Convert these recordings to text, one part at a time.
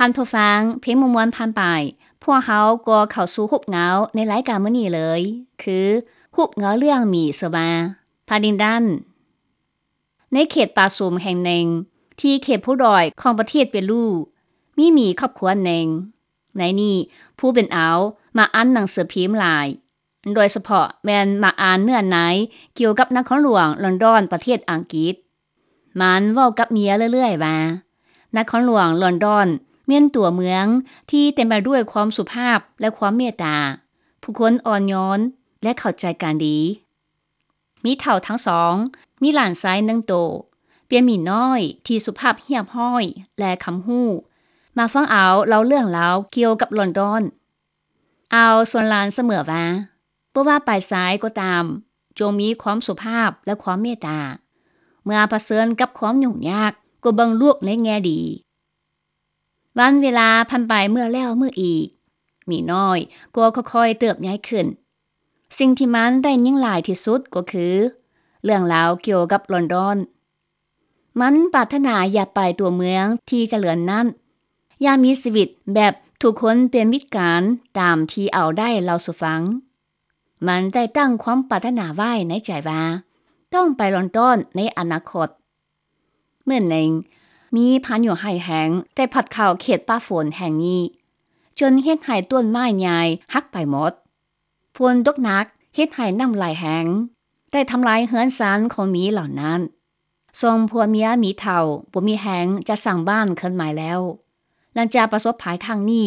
ທ່ານຜູ້ຟັງ, ເພງມ່ວນໆຜ່ານໄປ, ພວກເຮົາກໍເຂົ້າສູ່ຮູບເງົາໃນລາຍການມື້ນີ້ເລີຍ, ຄືຮູບເງົາເລື່ອງໝີຊື່ວ່າ Paddington. ໃນເຂດປ່າຊຸມແຫ່ງໜຶ່ງ ທີ່ເຂດພູດອຍຂອງປະເທດເປຣູ, ມີໝີຄອບຄົວໜຶ່ງ. ໃນນີ້, ຜູ້ເປັນອາວມັກອ່ານໜັງສືພິມຫຼາຍ, ໂດຍສະເພາະແມ່ນມັກອ່ານເນື້ອໃນກ່ຽວກັບນະຄອນຫຼວງລອນດອນ ປະເທດອັງກິດ. ມັນເວົ້າກັບເມຍເລື້ອຍໆວ່າ ນະຄອນຫຼວງລອນດອນແມ່ນຕົວເມືອງທີ່ເຕັມໄປດ້ວຍຄວາມສຸພາບ ແລະ ຄວາມເມດຕາ, ຜູ້ຄົນອ່ອນໂຍນ ແລະ ເຂົ້າໃຈກັນດີ. ໝີເຖົ້າທັງສອງມີຫຼານຊາຍໜຶ່ງໂຕ, ເປັນໝີນ້ອຍທີ່ສຸພາບຮຽບຮ້ອຍ ແລະ ຄຳຮູ້. ມາຟັງອາວເລົ່າເລື່ອງລາວກ່ຽວກັບລອນດອນ. ອາວຊວນຫຼານສະເໝີວ່າ ບໍ່ວ່າໄປໃສກໍຕາມ, ຈົ່ງມີຄວາມສຸພາບ ແລະ ຄວາມເມດຕາ. ເມື່ອປະເຊີນກັບຄວາມຫຍຸ້ງຍາກ, ກໍເບິ່ງລູກໃນແງ່ດີ. ວັນເວລາຜ່ານໄປເມື່ອແລ້ວເມື່ອອີກ, ໝີນ້ອຍກໍຄ່ອຍໆເຕີບໃຫຍ່ຂຶ້ນ. ສິ່ງທີ່ມັນໄດ້ຍິນຫຼາຍທີ່ສຸດກໍຄືເລື່ອງລາວກ່ຽວກັບລອນດອນ. ມັນປາດຖະໜາຢາກໄປຕົວເມືອງທີ່ຈະເລີນນັ້ນ, ຢາກມີຊີວິດແບບທຸກຄົນເປັນມິດກັນ, ຕາມທີ່ອາວໄດ້ເລົ່າສູ່ຟັງ. ມັນໄດ້ຕັ້ງຄວາມປາດຖະໜາໄວ້ໃນໃຈວ່າ ຕ້ອງໄປລອນດອນໃນອະນາຄົດ. ມື້ໜຶ່ງ, ມີພາຍຸຮ້າຍແຮງໄດ້ພັດເຂົ້າເຂດປ່າຝົນແຫ່ງນີ້, ຈົນເຮັດໃຫ້ຕົ້ນໄມ້ໃຫຍ່ຫັກໄປໝົດ. ຝົນຕົກໜັກເຮັດໃຫ້ນ້ຳໄຫຼແຮງ, ໄດ້ທຳລາຍເຮືອນຊານຂອງໝີເຫຼົ່ານັ້ນ. ສອງຜົວເມຍໝີເຖົ້າບໍ່ມີແຮງຈະສ້າງບ້ານຄືນໃໝ່ແລ້ວ. ຫຼັງຈາກປະສົບໄພຄັ້ງນີ້,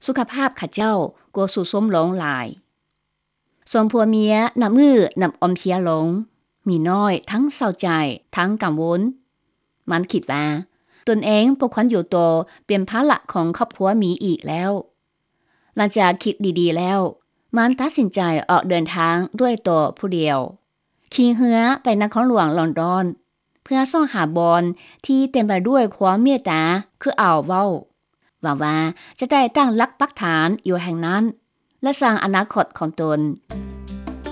ສຸຂະພາບເຂົາເຈົ້າກໍຊຸດໂຊມລົງຫຼາຍ. ສອງຜົວເມຍນັບມື້ນັບອ່ອນເພຍລົງ, ໝີນ້ອຍທັງເສົ້າໃຈທັງກັງວົນ. ມັນຄິດວ່າ ຕົນເອງບໍ່ຄວນຢູ່ຕໍ່ເປັນພາລະຂອງຄອບຄົວໝີອີກແລ້ວ. ຫຼັງຈາກຄິດດີໆແລ້ວ, ມັນຕັດສິນໃຈອອກເດີນທາງດ້ວຍຕົວຜູ້ດຽວ, ຂີ່ເຮືອໄປນະຄອນຫຼວງລອນດອນ ເພື່ອຊອກຫາບ່ອນທີ່ເຕັມໄປດ້ວຍຄວາມເມດຕາຄືອາວເວົ້າ. ຫວັງວ່າຈະໄດ້ຕັ້ງຫຼັກປັກຖານຢູ່ແຫ່ງນັ້ນ ແລະ ສ້າງອະນາຄົດຂອງຕົນ.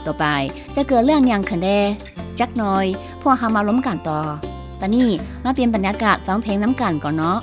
ຕໍ່ໄປຈະເກີດເລື່ອງຫຍັງຂຶ້ນແດ່? ຈັກໜ່ອຍພວກເຮົາມາລົມກັນຕໍ່. ຕອນນີ້ມາປ່ຽນບັນຍາກາດຟັງເພງນຳກັນກ່ອນເນາະ.